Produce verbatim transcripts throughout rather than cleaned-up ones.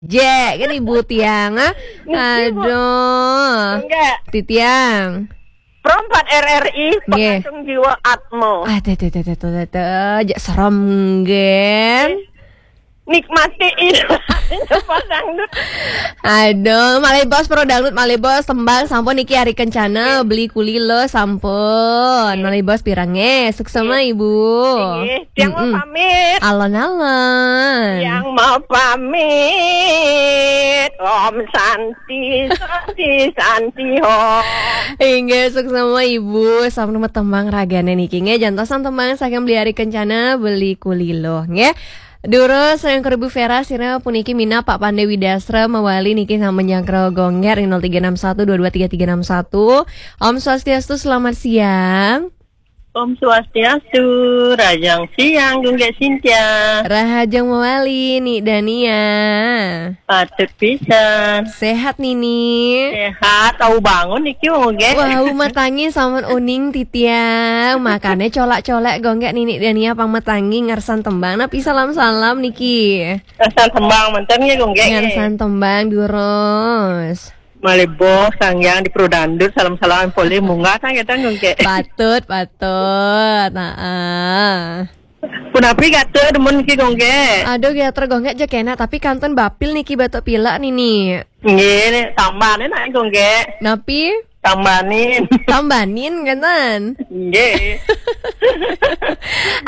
Jek kan ibu tiang ah. Aduh. Enggak. Titiang. Pro empat R R I, nggih. Pengantung jiwa Atmo. Ah, teh, teh, teh, teh, teh, teh, teh. Jak serem, nggih. Nikmati iya. Pasang dulu. Aduh, malih bos pro dangdut, malih bos tembang sampun niki hari kencana beli kuli lo sampun. Malih bos pirang eh, suksema ibu. Nggih, tiang mau pamit. Alon-alon. Tiang mau pamit. Om Santi, Santi, Santi, Om. Inggih, suksema ibu, sampun tembang ragane niki nggih, jantosan tembang saking beli hari kencana beli kuli lo nggih. Durus yang keribu Vera sira puniki mina Pak Pande Widasra mawali niki sama nyangkro gongger nol tiga enam satu dua dua tiga tiga enam satu. Om Swastiastu, selamat siang. Om Swastiastu, rahajeng siang, Gunggek Sintia. Rahajeng mawali, Ni Dania. Patut pisan. Sehat, Nini? Sehat, au bangun niki, Gunggek. Wah, au matangi sampun uning titiang. Makane colak-colak, Gunggek, Nini Dania pang matangi ngersan tembang. Napi salam-salam niki? Ngersan tembang, manten ya, Gunggek. Ngersan tembang, durus. Malih bos, sangyang di Pro Dangdut, salam-salam polih munggah sang ketan, Gunggek. Patut, patut. Nah, ah. Punapi gatra demen ki, Gunggek? Aduh, gatra, Gunggek, aja kena, tapi kantun bapil niki batuk pilek nini. Nggih, tambahne nak, Gunggek. Napi? Tambahin. Tambahin, kantun. Nggih.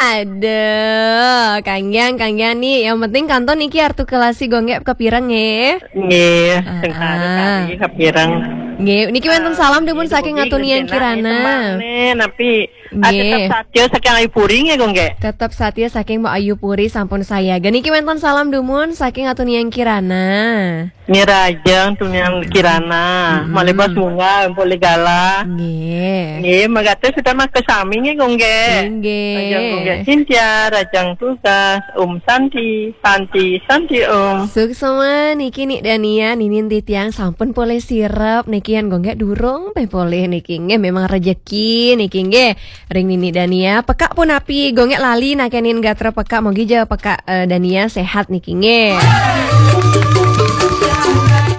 Aduh, kanggiang, kanggiang nih. Yang penting kantun niki artikulasi Gunggek kepireng nggih. Nggih, ah, sing kari, ah, kari kepireng. Nggih, niki wenten salam dumun saking Atunian Kirana. Napi? Ah, nggih. Tetep satia saking Ayu Puri nggih, Gunggek. Tetep satia saking Mbok Ayu Puri sampun saya. Niki wenten salam dumun saking Atunian Kirana. Nggih, rahajeng Atunian Kirana. Malih bos munggah, polih galah. Nggih. Nggih, megatus sudah mas kesami nggih, Gunggek. Nggih. Rahajeng Gunggek Sintia, rahajeng tugas, Om Santi, Santi, Santi Om. Suksema niki Ni Dania, ninin titiang sampun polih sirep, niki yan Gunggek durung peh polih niki nggih, memang rejeki niki nggih. Ring Nini Dania, pekak punapi, Gunggek lali nakenin gatra pekak, mogi ja pekak, eh, Dania sehat niki nggih.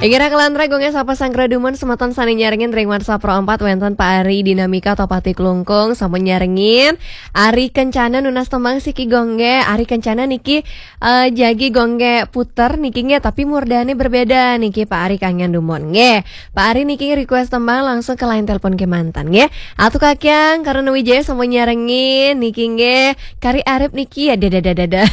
Inggih raka lantaran Gunggek sapa sanggra dumun semeton sane nyarengin ring WhatsApp Pro empat wenten Pak Ari Dinamika Topati Klungkung sampun nyarengin. Ari Kencana nunas tembang siki Gunggek, Ari Kencana niki, eh, jagi Gunggek puter niki nggih, tapi murdane berbeda niki Pak Ari kangen dumun nggih. Pak Ari niki request tembang langsung ke line telepon kemanten nggih. Atu Kakyang, Karena Wijaya sampun nyarengin niki nggih. Kari Arep niki ya dada dada dada.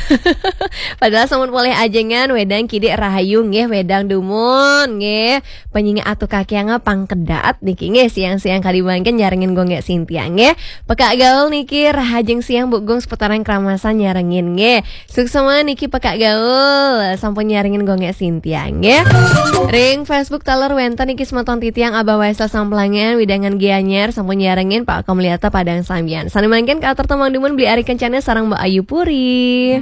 Padahal sampun polih ajengan wedang kidik rahayu nggih, wedang dumun nggih. Penyinga Atu Kakyang pangkedat niki nggih, siang-siang kadi mangkin nyarengin Gunggek Sintia nggih. Pekak gaul niki rahajeng siang Bu Gung seputaran Kramasan nyarengin nggih. Suksema niki pekak gaul, sampun nyarengin Gunggek Sintia nggih. Ring Facebook taler wenten niki semeton titiang Abah Waisel Samplangan, Widangan Gianyar sampun nyarengin Pak Komliata Padang Sambian. Sane mangkin katur tembang dumun beli Ari Kencana sareng Mbok Ayu Puri.